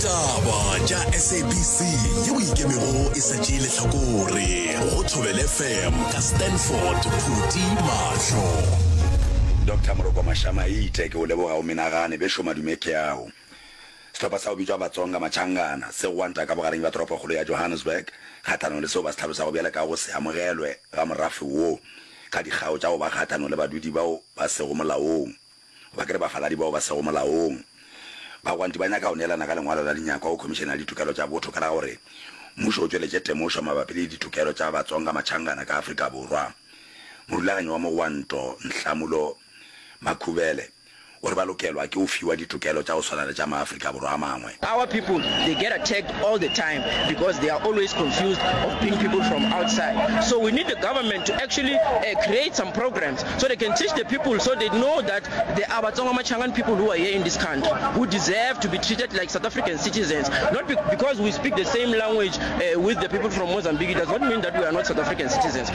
Ditaba tša SABC yeo e ikemego e sa tšee lehlakore go Thobela FM ka Stanford Phuti Mahlo. Doctor Moroko Mashamaite ke o leboga o menagane bešo madume ke ao. Sehlopha sa go bitšwa Batsonga Machangana se gwanta ka bogareng bja toropokgolo ya Johannesburg kgahlanong le seo ba se hlalosago bjale ka go se amogelwe ga morafe wo ka dikgao tša go ba kgahlanong le badudi bao ba sego molaong goba ke re bafaladi bao ba sego molaong. Bagwanti ba nyaka go neelana ka lengwalo la dinyakwa go Khomišene ya Ditokelo tša Botho ka la gore mmušo o tšweletše temošo mabapi le ditokelo tša Batsonga Machangana ka Afrika Borwa. Morulaganyi wa mogwanto Nhlamulo Makhubele o re ba lokelwa ke go fiwa ditokelo tša go swana le tša maAfrika Borwa a mangwe. Our people they get attacked all the time because they are always confused of being people from outside so we need the government to actually uh, create some programs so they can teach the people so they know that there are Batsonga Machangan people who are here in this country who deserve to be treated like South African citizens not be because we speak the same language uh, with the people from Mozambique it does not mean that we are not South African citizens.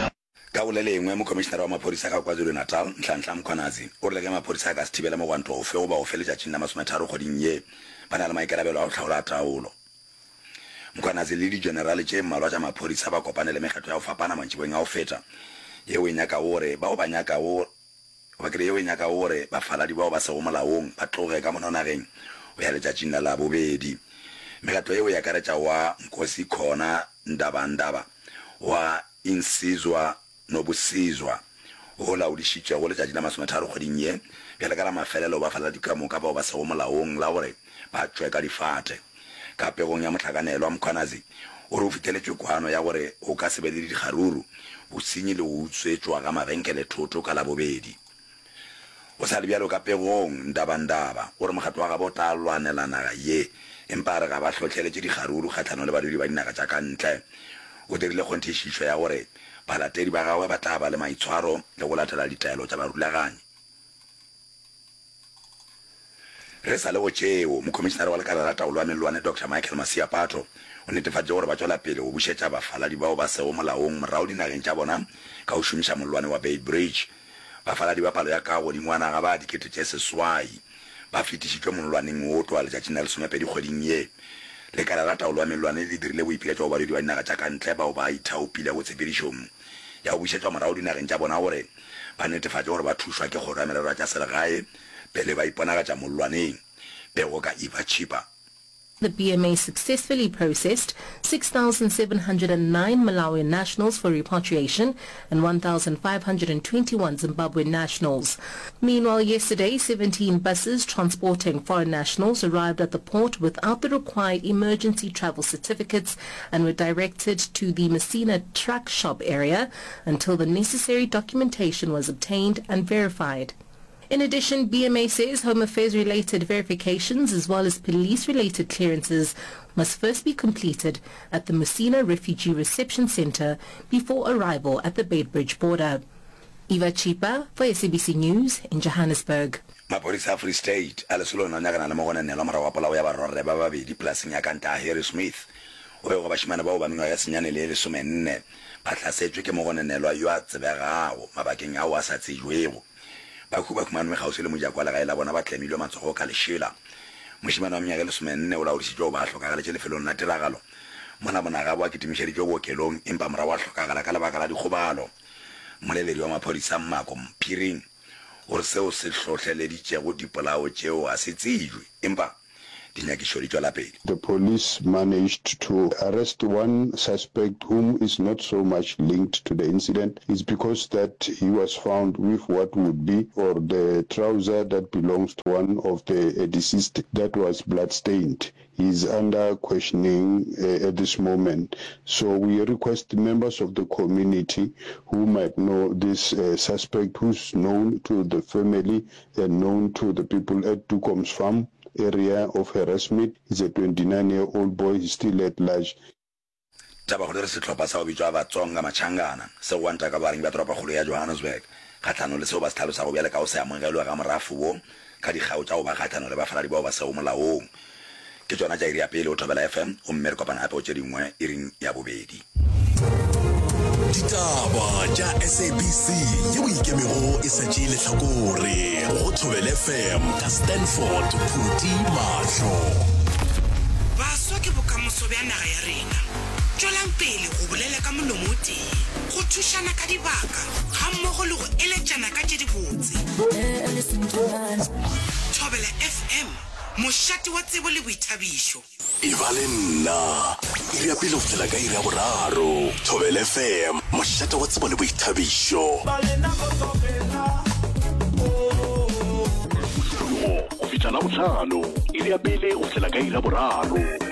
Ka go le lengwe, Mokhomišenare wa Maphodisa ka KwaZulu-Natal, Nhlanhla Mkhwanazi, o rile ge maphodisa a ka se thibele mogwanto ofe goba ofe letšatšing la masometharo kgweding ye, ba na le maikarabelo a go hlaola taolo. Mkhwanazi le dijenerale tše mmalwa tša maphodisa ba kopane le mekgatlo ya go fapana mantšiboeng a go feta yeo e nyakago gore bao ba nyakago goba ke re yeo e nyakago gore bafaladi bao ba sego molaong ba tloge ka mono nageng go ya letšatšing la Labobedi. Mekgatlo yeo e akaretša wa Nkosi Khona Ndabandaba wa Insizwa Nobusizwa wo laodišitšwego letšatši la masometharo kgweding ye bjale ka la mafelelo bafaladi ka moka bao ba sego molaong la gore ba tšwe ka difate. Ka pegong ya mohlakanelwa, Mkhwanazi o re o fihleletšwe kwano ya gore go ka se be le dikgaruru, bosenyi le go utswetšwa ga mabenkele thoto ka Labobedi. Go sa le bjalo ka pegong, Ndabandaba o re mokgatlo wa gabo o tla lwanela naga ye, empa a re ga ba hlohleletše dikgaruru kgahlanong le badudi ba dinaga tša ka ntle. O dirile kgonthišišo ya gore balatedi ba gagwe ba tla ba le maitshwaro le go latela ditaelo tša barulaganyi. Re sa le go tšeo, Mokhomišenare wa Lekala la Taolo ya Mellwane Doctor Michael Masiapato o netefaditše gore ba tšwela pele go bušetša bafaladi bao ba sego molaong morago dinageng tša bona ka go šomiša mollwane wa Beitbridge. Bafaladi ba palo ya ka godingwana ga ba 8000 ba fetišitšwe mollwaneng wo tloga letšatšing la lesomepedi kgweding ye. Lekala la Taolo ya Mellwane le dirile boipiletšo go badudi ba dinaga tša ka ntle bao ba ithaopilego tshepedišong ya go bušetšwa morago dinageng tša bona gore ba netefatše gore ba thušwa ke Kgoro ya Merero ya tša Selegae pele ba iponagatša mollwaneng. Pego ka Eva Chipa. The BMA successfully processed 6,709 Malawian nationals for repatriation and 1,521 Zimbabwean nationals. Meanwhile, yesterday, 17 buses transporting foreign nationals arrived at the port without the required emergency travel certificates and were directed to the Messina truck shop area until the necessary documentation was obtained and verified. In addition, BMA says Home Affairs-related verifications as well as police-related clearances must first be completed at the Musina Refugee Reception Center before arrival at the Beitbridge border. Eva Chipa for SABC News in Johannesburg. Maphodisa a Free State a lesolong la nyakana le mogononelwa morago ga polao ya barwarre ba babedi polaseng ya ka ntle ga Harrismith. Go begwa bašemane bao ba mengwaga ya senyane le ye lesomenne ba hlasetšwe ke mogononelwa yo a tsebegago mabakeng ao a sa tsejwego. Bahu ba humanwe kgauswi le mojako wa legae la bona ba tlemilwe matsogo ka lešela. Mošemane wa mengwaga e lesomenne o laodišitšwe go ba a hlokagaletše lefelong la tiragalo mola monagabo a kitimišeditšwe bookelong empa morago a hlokagala ka lebaka la dikgobalo. Mmoleledi wa maphodisa Mmako Mphiring o re seo se hlohleleditšego dipolao tšeo ga se tsejwe empa dinyakišo di tšwela pele. The police managed to arrest one suspect whom is not so much linked to the incident. It's because that he was found with what would be or the trouser that belongs to one of the deceased that was blood-stained. He is under questioning at this moment. So we request members of the community who might know this suspect who's known to the family and known to the people at Dukom's farm area of Harrismith. He's a 29 year old boy, he's still at large. Tabakgolo e re sehlopha sa go bitšwa Batsonga Machangana se gwanta ka bogareng bja toropokgolo ya Johannesburg kgahlanong le seo ba se hlalosago bjale ka go se amogelwe ga morafo wo ka dikgao tša go ba kgahlanong le bafaladi bao ba sego molaong. Ke tšona tša iri ya pele go Thobela FM gomme re kopana gape go tše dingwe iring ya bobedi. Ditaba tša SABC yeo e ikemego e sa tšee lehlakore go Thobela FM ka Stanford Phuti Mahlo. Ba bokamoso bja naga ya rena. Tšwelang pele go bolela ka molomo o tee, go thušana ka dibaka gammogo le go eletšana ka tše dibotse. Thobela FM, mošate wa tsebo le boithabišo. Eba le nna, iri ya pele go fihlela ka iri ya boraro. Thobela FM, mošate wa tsebo le boithabišo. Mosupologo go fihla Labohlano, iri ya pele go fihlela ka iri ya boraro.